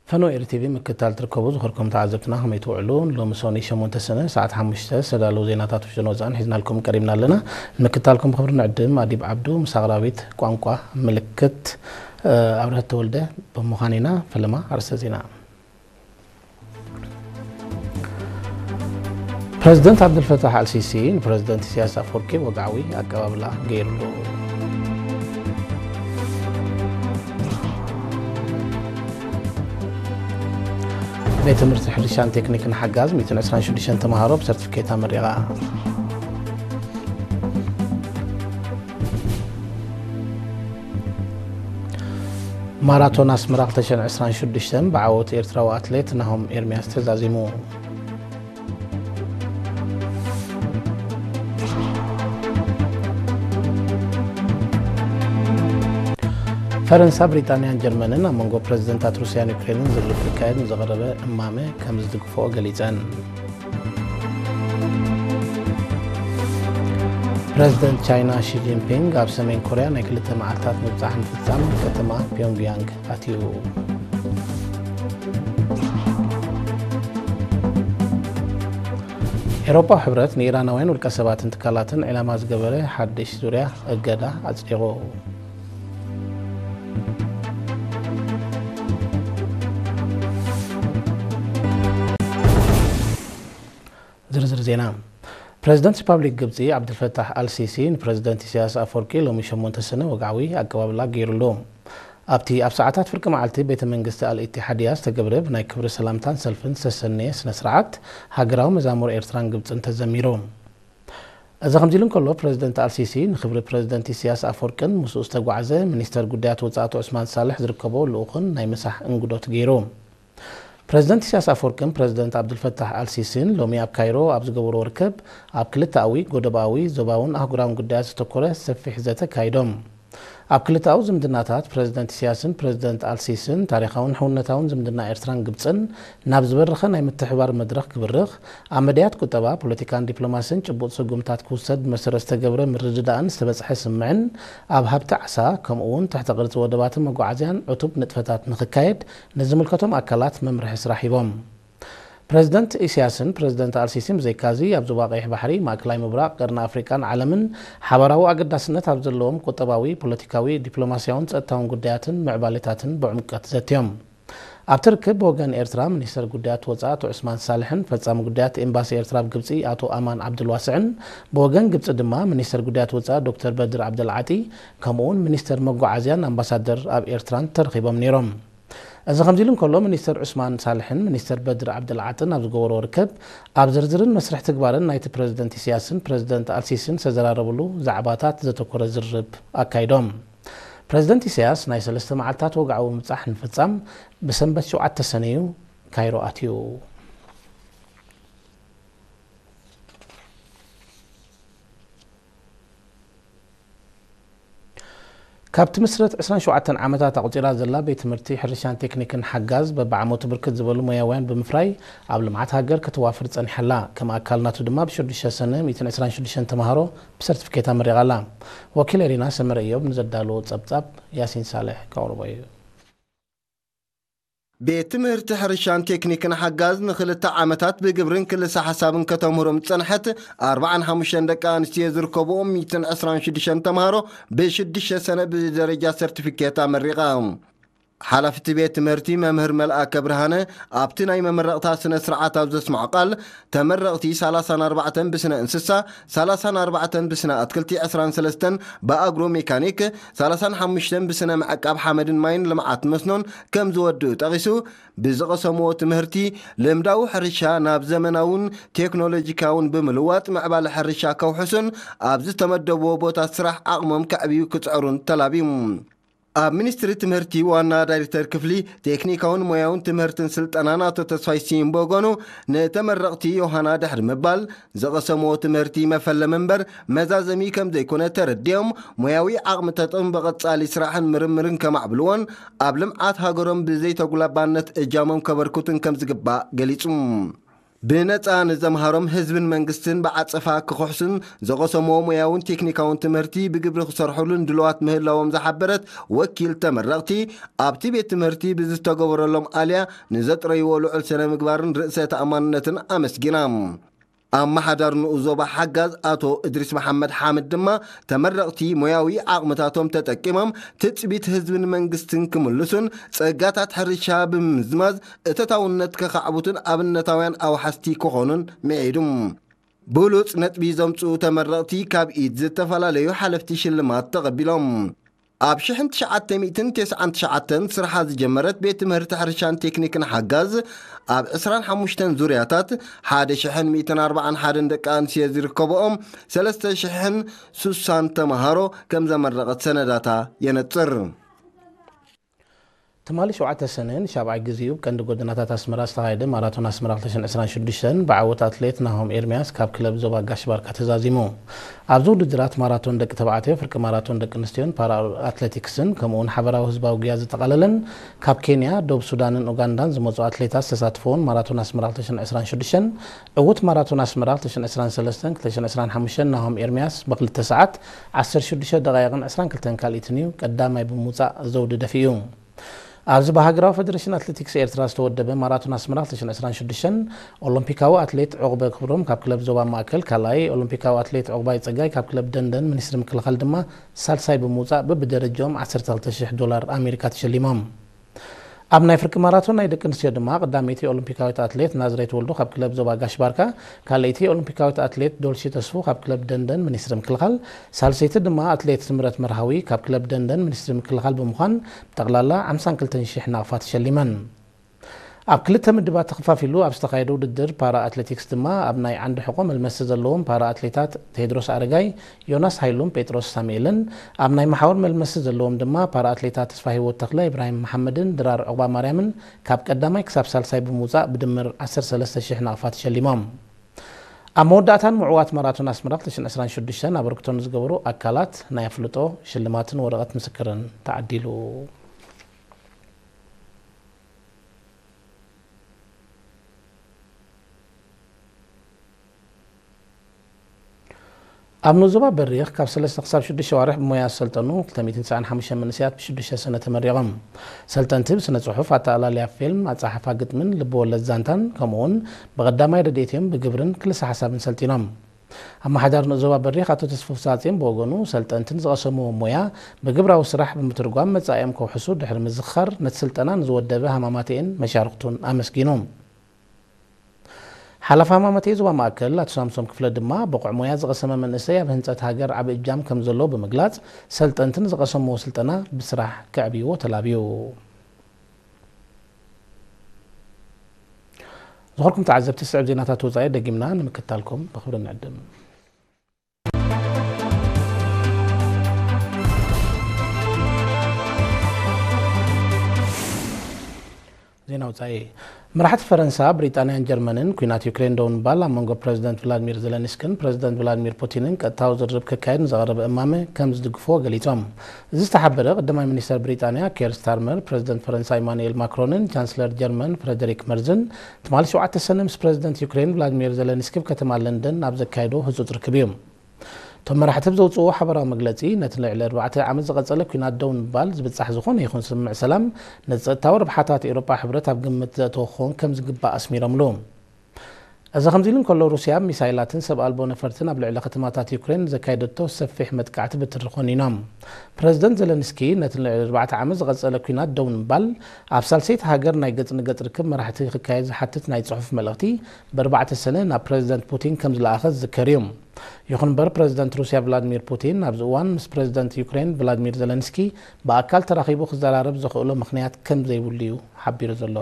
ፈኖ ኤሪ ቲቪ ምክትታል ትርከቡ ዝኸርኩም ተዓዘብትና ከመይ ትውዕሉ? ሎሚ ሰኑይ ሸሞንተ ሰነ ሰዓት ሓሙሽተ ዝተዳለዉ ዜናታት ውሽጥን ወፃእን ሒዝናልኩም ቀሪብና ኣለና። ንምክትታልኩም ብኽብሪ ንዕድም ኣዲብ ዓብዱ ምስ ኣቕራቢት ቋንቋ ምልክት ኣብርሀት ተወልደ ብምዃን ኢና። ፈለማ ኣርእስተ ዜና። ፕረዚደንት ዓብዱልፈታሕ ኣልሲሲ ንፕረዚደንት ኢሳያስ ኣፈወርቂ ወግዓዊ ኣቀባብላ ገይሩሉ። ቤት ትምህርቲ ሕርሻን ቴክኒክን ሓጋዝ ሚእትን ዕስራን ሽዱሽተን ተምሃሮ ብሰርቲፊኬት ኣመሪቓ። ማራቶን ኣስመራ ክልተ ሽሕን ዕስራን ሽዱሽተን ብዓወት ኤርትራዊ ኣትሌት ናሆም ኤርሚያስ ተዛዚሙ። ፈረንሳ፣ ብሪጣንያን ጀርመንን ኣብ መንጎ ፕረዚደንታት ሩስያን ዩክሬንን ዝርርብ ክካየድ ንዝቐረበ እማመ ከም ዝድግፍኦ ገሊጸን። ፕረዚደንት ቻይና ሺ ጂንፒንግ ኣብ ሰሜን ኮርያ ናይ ክልተ መዓልታት ምብጻሕ ምፍጻም ከተማ ፒዮንግያንግ ኣትዩ። ኤውሮጳዊ ሕብረት ንኢራናውያን ውልቀ ሰባትን ትካላትን ዒላማ ዝገበረ ሓድሽ ዙርያ እገዳ ኣጽዲቑ። ዝርዝር ዜና። ፕረዚደንት ሪፓብሊክ ግብጺ ዓብዱልፈታሕ ኣልሲሲ ንፕረዚደንት ኢሳያስ ኣፈወርቂ ሎሚ ሸሞንተ ሰነ ወግዓዊ ኣቀባብላ ገይሩሉ። ኣብቲ ኣብ ሰዓታት ፍርቂ መዓልቲ ቤተ መንግስቲ ኣልኢቲሓድያ ዝተገብረ ብናይ ክብሪ ሰላምታን ሰልፍን ዝተሰነየ ስነ ስርዓት፣ ሃገራዊ መዛሙር ኤርትራን ግብጽን ተዘሚሩ። እዚ ከምዚ ኢሉ እንከሎ፣ ፕረዚደንት ኣልሲሲ ንክብሪ ፕረዚደንት ኢሳያስ ኣፈወርቅን ምስኡ ዝተጓዕዘ ሚኒስተር ጉዳያት ወጻኢ ኣቶ ዑስማን ሳልሕ ዝርከቦ ልኡኽን ናይ ምሳሕ እንግዶት ገይሩ። ፕረዚደንት ኢሳያስ ኣፈወርቅን ፕረዚደንት ዓብዱልፈታሕ ኣልሲሲን ሎሚ ኣብ ካይሮ ኣብ ዝገበርዎ ርክብ፣ ኣብ ክልተኣዊ፣ ጎደባዊ፣ ዞባውን ኣህጉራውን ጉዳያት ዘተኮረ ሰፊሕ ዘተ ኣካይዶም። ኣብ ክልተኣዊ ዝምድናታት፣ ፕረዚደንት ኢሳያስን ፕረዚደንት ኣልሲሲን ታሪኻውን ሕውነታውን ዝምድና ኤርትራን ግብጽን ናብ ዝበረኸ ናይ ምትሕብባር መድረኽ ክብርኽ፣ ኣብ መዳያት ቁጠባ፣ ፖለቲካን ዲፕሎማስን ጭቡጥ ስጉምታት ክውሰድ ብመሰረት ዝተገብረ ምርድዳእን ዝተበጽሐ ስምምዕን፣ ኣብ ሃብቲ ዓሳ፣ ከምኡ እውን ትሕተ ቅርጺ ወደባትን መጓዓዝያን ዕቱብ ንጥፈታት ንኽካየድ ንዝምልከቶም ኣካላት መምርሒ ስራሕ ሂቦም። ፕረዚደንት ኢሳያስን ፕረዚደንት ኣልሲሲን ብዘይካዚ፣ ኣብ ዞባ ቀይሕ ባሕሪ፣ ማእከላይ ምብራቕ፣ ቀርኒ ኣፍሪቃን ዓለምን ሓባራዊ ኣገዳስነት ኣብ ዘለዎም ቁጠባዊ፣ ፖለቲካዊ፣ ዲፕሎማስያውን ጸጥታውን ጉዳያትን ምዕባሌታትን ብዕምቀት ዘትዮም። ኣብቲ ርክብ ብወገን ኤርትራ ሚኒስተር ጉዳያት ወጻኢ ኣቶ ዑስማን ሳልሕን ፈጻሚ ጉዳያት ኤምባሲ ኤርትራ ኣብ ግብጺ ኣቶ ኣማን ዓብዱልዋስዕን፣ ብወገን ግብጺ ድማ ሚኒስተር ጉዳያት ወጻኢ ዶክተር በድር ዓብደልዓጢ፣ ከምኡውን ሚኒስተር መጓዓዝያን ኣምባሳደር ኣብ ኤርትራን ተረኺቦም ነይሮም። እዚ ከምዚ ኢሉ እንከሎ፣ ሚኒስተር ዑስማን ሳልሕን ሚኒስተር በድር ዓብደልዓጥን ኣብ ዝገበርዎ ርክብ፣ ኣብ ዝርዝርን መስርሕ ትግባርን ናይቲ ፕረዚደንት ኢሳያስን ፕረዚደንት ኣልሲሲን ዝተዘራረብሉ ዛዕባታት ዘተኮረ ዝርርብ ኣካይዶም። ፕረዚደንት ኢሳያስ ናይ ሰለስተ መዓልታት ወግዓዊ ምብጻሕ ንምፍጻም ብሰንበት ሸውዓተ ሰነ እዩ ካይሮ ኣትዩ። ካብ ትምስረት ዕስራን ሸውዓተን ዓመታት ኣቑጺራ ዘላ ቤት ትምህርቲ ሕርሻን ቴክኒክን ሓጋዝ በብዓመቱ ብርክት ዝበሉ ሞያውያን ብምፍራይ ኣብ ልምዓት ሃገር ከተዋፍር ጸኒሓ ኣላ። ከም ኣካል ናቱ ድማ ብሽዱሽተ ሰነ ሚእትን ዕስራን ሽዱሽተን ተምሃሮ ብሰርቲፊኬት ኣመሪቓ ኣላ። ወኪል ኤሪና ሰመረ እዮብ ንዘዳለዎ ጸብጻብ ያሲን ሳልሕ ከቕርቦ እዩ። ቤት ትምህርቲ ሕርሻን ቴክኒክን ሓጋዝ ንኽልተ ዓመታት ብግብርን ክልሰ ሓሳብን ከተምህሮም ዝጸንሐት ኣርባዓን ሓሙሽተን ደቂ ኣንስትዮ ዝርከብኦም ሚእትን ዕስራን ሽዱሽተን ተምሃሮ ብሽዱሽተ ሰነ ብደረጃ ሰርቲፊኬት ኣመሪቓ። ሓላፊ እቲ ቤት ትምህርቲ መምህር መልኣከ ብርሃነ ኣብቲ ናይ መመረቕታ ስነ ስርዓት ኣብ ዘስምዖ ቃል፣ ተመረቕቲ ሰላሳን ኣርባዕተን ብስነ እንስሳ፣ ሰላሳን ኣርባዕተን ብስነ ኣትክልቲ፣ ዕስራን ሰለስተን ብኣግሮ ሜካኒክ፣ ሰላሳን ሓሙሽተን ብስነ ምዕቃብ ሓመድን ማይን ልምዓት መስኖን ከም ዝወድኡ ጠቒሱ፣ ብዝቐሰምዎ ትምህርቲ ልምዳዊ ሕርሻ ናብ ዘመናውን ቴክኖሎጂካውን ብምልዋጥ ምዕባለ ሕርሻ ከውሕሱን ኣብ ዝተመደብዎ ቦታ ስራሕ ዓቕሞም ከዕብዩ ክጽዕሩን ተላብዩ። ኣብ ሚኒስትሪ ትምህርቲ ዋና ዳይሬክተር ክፍሊ ቴክኒካውን ሞያውን ትምህርትን ስልጠናን ኣቶ ተስፋይ ሲምቦ ጎኑ፣ ንተመረቕቲ ዮሃና ድሕሪ ምባል፣ ዝቐሰምዎ ትምህርቲ መፈለሚ እምበር መዛዘሚ ከም ዘይኮነ ተረዲኦም፣ ሞያዊ ዓቕሚ ተጠቕሙ ብቐጻሊ ስራሕን ምርምርን ከማዕብልዎን ኣብ ልምዓት ሃገሮም ብዘይተጉላባነት እጃሞም ከበርክቱን ከም ዝግባእ ገሊጹ። ብነጻ ንዘምሃሮም ህዝብን መንግስትን ብዓጸፋ ክኽሕሱን፣ ዘቐሰምዎ ሞያውን ቴክኒካውን ትምህርቲ ብግብሪ ክሰርሑሉን ድልዋት ምህላዎም ዝሓበረት ወኪል ተመረቕቲ፣ ኣብቲ ቤት ትምህርቲ ብዝተገበረሎም ኣልያ ንዘጥረይዎ ልዑል ስነ ምግባርን ርእሰ ተኣማንነትን ኣመስጊና። ኣመሓዳሪ ንኡስ ዞባ ሓጋዝ ኣቶ እድሪስ መሓመድ ሓምድ ድማ፣ ተመረቕቲ ሞያዊ ዓቕምታቶም ተጠቂሞም ትጽቢት ህዝብን መንግስትን ክምልሱን፣ ጸጋታት ሕርሻ ብምምዝማዝ እተታውነት ከኻዕብቱን ኣብነታውያን ኣውሓስቲ ክኾኑን ምዒዱ። ብሉጽ ነጥቢ ዘምጽኡ ተመረቕቲ ካብ ኢድ ዝተፈላለዩ ሓለፍቲ ሽልማት ተቐቢሎም። ኣብ ሽሕን ትሽዓተ ሚእትን ተስዓን ትሽዓተን ስርሓ ዝጀመረት ቤት ትምህርቲ ሕርሻን ቴክኒክን ሓጋዝ፣ ኣብ ዕስራን ሓሙሽተን ዙርያታት ሓደ ሽሕን ሚእትን ኣርባዓን ሓደን ደቂ ኣንስትዮ ዝርከብኦም ሰለስተ ሽሕን ሱሳን ተምሃሮ ከም ዘመረቐት ሰነዳታ የነጽር። ትማሊ ሸውዓተ ሰነ ንሻብዓይ ግዜኡ ብቀንዲ ጎደናታት ኣስመራ ዝተኻየደ ማራቶን ኣስመራ ክልተ ሽሕን ዕስራን ሽዱሽተን ብዓወት ኣትሌት ናሆም ኤርምያስ ካብ ክለብ ዞባ ጋሽ ባርካ ተዛዚሙ። ኣብዚ ውድድራት ማራቶን ደቂ ተባዕትዮ፣ ፍርቂ ማራቶን ደቂ ኣንስትዮን ፓራ ኣትሌቲክስን ከምኡውን ሓበራዊ ህዝባዊ ጉያ ዘጠቓለለን ካብ ኬንያ፣ ደቡብ ሱዳንን ኡጋንዳን ዝመጹ ኣትሌታት ዝተሳተፈውን ማራቶን ኣስመራ ክልተ ሽሕን ዕስራን ሽዱሽተን ዕዉት ማራቶን ኣስመራ ክልተ ሽሕን ዕስራን ሰለስተን ክልተ ሽሕን ዕስራን ሓሙሽተን ናሆም ኤርምያስ ብክልተ ሰዓት ዓሰርተ ሽዱሽተ ደቓይቕን ዕስራን ክልተን ካልኢትን እዩ ቀዳማይ ብምውጻእ ዘውዲ ደፊኡ። ኣብዚ ብሃገራዊ ፈደረሽን ኣትሌቲክስ ኤርትራ ዝተወደበ ማራቶን ኣስመራ ክልተ ሽሕን ዕስራን ሽዱሽተን ኦሎምፒካዊ ኣትሌት ዑቕበ ክብሮም ካብ ክለብ ዞባ ማእከል ካልኣይ፣ ኦሎምፒካዊ ኣትሌት ዑቕባይ ጸጋይ ካብ ክለብ ደንደን ሚኒስትሪ ምክልኻል ድማ ሳልሳይ ብምውጻእ በብደረጃኦም ዓሰርተ ክልተ ሽሕ ዶላር ኣሜሪካ ተሸሊሞም። ኣብ ናይ ፍርቂ ማራቶን ናይ ደቂ ኣንስትዮ ድማ ቀዳመይቲ ኦሎምፒካዊት ኣትሌት ናዝሬት ወልዱ ካብ ክለብ ዞባ ጋሽ ባርካ፣ ካልኣይቲ ኦሎምፒካዊት ኣትሌት ዶልሺ ተስፉ ካብ ክለብ ደንደን ሚኒስትሪ ምክልኻል፣ ሳልሰይቲ ድማ ኣትሌት ስምረት መርሃዊ ካብ ክለብ ደንደን ሚኒስትሪ ምክልኻል ብምዃን ብጠቕላላ ሓምሳን ክልተን ሽሕ ናቕፋ ተሸሊመን። ኣብ ክልተ ምድባት ተኸፋፊሉ ኣብ ዝተኻየደ ውድድር ፓራ ኣትሌቲክስ ድማ ኣብ ናይ ዓንዲ ሕቖ መልመሲ ዘለዎም ፓራ ኣትሌታት ቴድሮስ ኣረጋይ፣ ዮናስ ሃይሉን ጴጥሮስ ሳሙኤልን፣ ኣብ ናይ መሓውር መልመሲ ዘለዎም ድማ ፓራ ኣትሌታት ተስፋ ህይወት ተኽለ፣ ኢብራሂም መሓመድን ድራር ዑቕባ ማርያምን ካብ ቀዳማይ ክሳብ ሳልሳይ ብምውጻእ ብድምር ዓሰርተ ሰለስተ ሽሕ ናቕፋ ተሸሊሞም። ኣብ መወዳእታን ምዕዋት ማራቶን ኣስመራ ክልተ ሽሕን ዕስራን ሽዱሽተን ኣበርክቶ ንዝገበሩ ኣካላት ናይ ኣፍልጦ ሽልማትን ወረቐት ምስክርን ተዓዲሉ። ኣብ ንኡስ ዞባ በሪኽ ካብ ሰለስተ ክሳብ ሽዱሽተ ኣዋርሕ ብሞያ ዝሰልጠኑ ክልተ ሚእትን ተስዓን ሓሙሽተን መንእሰያት ብሽዱሽተ ሰነ ተመሪቖም። ሰልጠንቲ ብስነ ጽሑፍ፣ ኣተኣላልያ ፊልም፣ ኣጸሓሕፋ ግጥምን ልቢ ወለድ ዛንታን ከምኡውን ብቐዳማይ ረድኤት እዮም ብግብርን ክልሰ ሓሳብን ሰልጢኖም። ኣመሓዳሪ ንኡስ ዞባ በሪኽ ኣቶ ተስፉ ፍሳጽዮን ብወገኑ፣ ሰልጠንቲ ንዝቐሰምዎ ሞያ ብግብራዊ ስራሕ ብምትርጓም መጻኢኦም ከውሕሱ ድሕሪ ምዝኽኻር፣ ነቲ ስልጠና ንዝወደበ ሃማማተኤን መሻርኽቱን ኣመስጊኑ። ሓላፊ ሃማማተኤ ዞባ ማእከል ኣቶ ሳምሶም ክፍለ ድማ፣ ብቑዕ ሞያ ዝቐሰመ መንእሰይ ኣብ ህንጸት ሃገር ዓቢ እጃም ከም ዘለዎ ብምግላጽ፣ ሰልጠንቲ ንዝቐሰምዎ ስልጠና ብስራሕ ከዕብይዎ ተላብዩ። ዝኸርኩም ተዓዘብቲ፣ ስዕብ ዜናታት ወጻኢ ደጊምና ንምክትታልኩም ብኽብሪ ንዕድም። ዜና ወጻኢ። መራሕቲ ፈረንሳ፣ ብሪጣንያን ጀርመንን ኲናት ዩክሬን ደው ንምባል ኣብ መንጎ ፕረዚደንት ቭላድሚር ዘለንስክን ፕረዚደንት ቭላድሚር ፑቲንን ቀጥታዊ ዝርርብ ክካየድ ንዝቐረበ እማመ ከም ዝድግፍዎ ገሊጾም። እዚ ዝተሓበረ፣ ቀዳማይ ሚኒስተር ብሪጣንያ ኬር ስታርመር፣ ፕረዚደንት ፈረንሳ ኢማኑኤል ማክሮንን ቻንስለር ጀርመን ፍረደሪክ መርዝን ትማሊ ሸውዓተ ሰነ ምስ ፕረዚደንት ዩክሬን ቭላድሚር ዘለንስኪ ኣብ ከተማ ለንደን ኣብ ዘካየዶ ህጹጽ ርክብ እዩ። እቶም መራሕቲ ኣብ ዘውጽእዎ ሓበራዊ መግለጺ፣ ነቲ ልዕሊ ኣርባዕተ ዓመት ዝቐጸለ ኲናት ደው ንምባል ዝብጻሕ ዝኾነ ይኹን ስምምዕ ሰላም፣ ንጸጥታዊ ረብሓታት ኤውሮጳ ሕብረት ኣብ ግምት ዘእተወ ክኸውን ከም ዝግባእ ኣስሚሮምሉ። እዚ ከምዚ ኢሉ እንከሎ፣ ሩስያ ሚሳይላትን ሰብ ኣልቦ ነፈርትን ኣብ ልዕሊ ከተማታት ዩክሬን ዘካየደቶ ሰፊሕ መጥቃዕቲ ብትሪ ኮኒኖም። ፕረዚደንት ዘለንስኪ፣ ነቲ ልዕሊ ኣርባዕተ ዓመት ዝቐጸለ ኲናት ደው ንምባል፣ ኣብ ሳልሰይቲ ሃገር ናይ ገጽ ንገጽ ርክብ መራሕቲ ክካየድ ዝሓትት ናይ ጽሑፍ መልእኽቲ፣ ብኣርባዕተ ሰነ ናብ ፕረዚደንት ፑቲን ከም ዝለኣኸ ዝዝከር እዩ። ይኹን እምበር፣ ፕረዚደንት ሩስያ ቭላድሚር ፑቲን ኣብዚ እዋን ምስ ፕረዚደንት ዩክሬን ቭላድሚር ዘለንስኪ ብኣካል ተራኺቡ ክዘራረብ ዘኽእሎ ምኽንያት ከም ዘይብሉ እዩ ሓቢሩ ዘሎ።